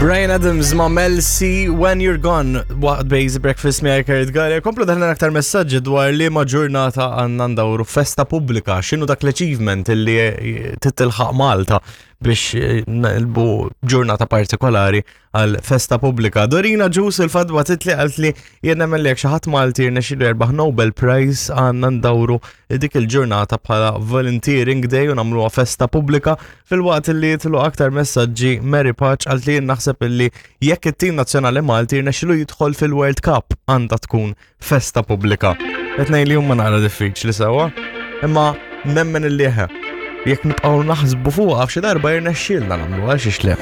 Bryan Adams ma' Mel C When You're Gone waqt Basic Breakfast miegħi Kurt Galea. Komplu daħna aktar messaġġi dwar li ma ġurnata għandna ndawru festa pubblika, x'inhu dak l-achievement illi titilħaq Malta biex eh, nqilbu ġurnata partikolari għal festa pubblika. Dorina Ġus il-fadwa titli għalt li jien nemmen li jekk xi ħadd Malti jirnexxielu jerbaħ Nobel Prize għandna ndawru dik il-ġurnata bħala Volunteering Day u nagħmluha festa pubblika filwaqt li jitlu aktar messaġġi Mary Paċ għalt li jien naħseb illi jekk it-tim nazzjonali Malti jirnexxielu jidħol fil-World Cup għandha tkun festa pubblika. Qed ngħid li huma naqra diffiċli sewwa, imma nemmen illi eħe. Jekk nibqgħu naħsbu fuqha f'xi darba jirnexxielna nagħmlu għal xiex le.